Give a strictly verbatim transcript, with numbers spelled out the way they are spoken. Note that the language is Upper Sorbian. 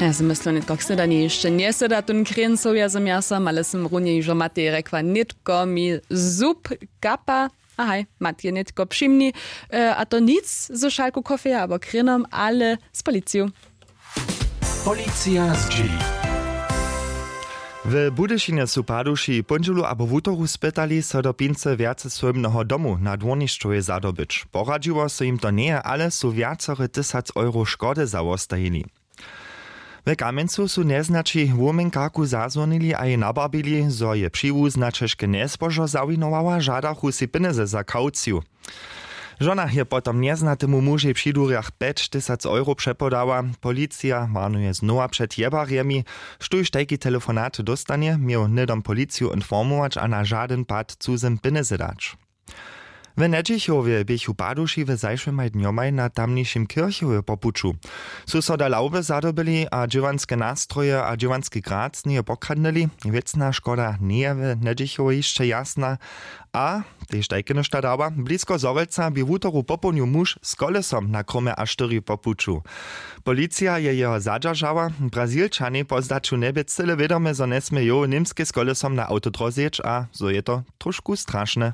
Ja se myslu nětko k sydanje hišće njesyda tón krěn sowja z mjasom, ale sym runje hižo matej rjekła nětko mi zub kapa. A haj, mat je nětko přimni. E, a to nic ze šalku kofeja abo krěnom, ale z policiju. Policija zdźěli. W budyšinje su paduši póndźelu abo wutoru spytali so do pincy wjace swójbneho domu na dwórnišćowje zadobyć. Poradźiło so jim to njeje, ale su wjacore tysac euro škody zawostajili. W kamjencu su njeznaći wuměnkarku zazwonili a jej nabarbili zo je přiwuzna ćežke njezbožo zawinowała, žadachu sej pjenjezy za kauciju. Žona je potom njeznatemu mužej při durjach pjećtysac euro přepodała. Policija warnuje znowa před jebarjemi. Štóž tajki telefonat dóstanje, měł hnydom policiju informować a na žadyn pad cuzym pjenjezy dać. W njedźichowje běchu paduši w zašłymaj dnjomaj na tamnišim kirchowje po puću. Su so do lawby zadobyli a dźěłanske nastroje a dźěłanski grad z njeje pokradnyli. Wěcna škoda njeje w njedźichowje hišće jasna. A tež tajke něšta dawa, blisko zhorjelca bě wutoru popołdnju muž z kolesom na kromje a štyri po puću. Policija je jeho zadźeržała. Brazilčanej po zdaću njebě cyle wědome zo njesmě jow němskej z kolesom na awtodróze jěć a zo je to tróšku strašne.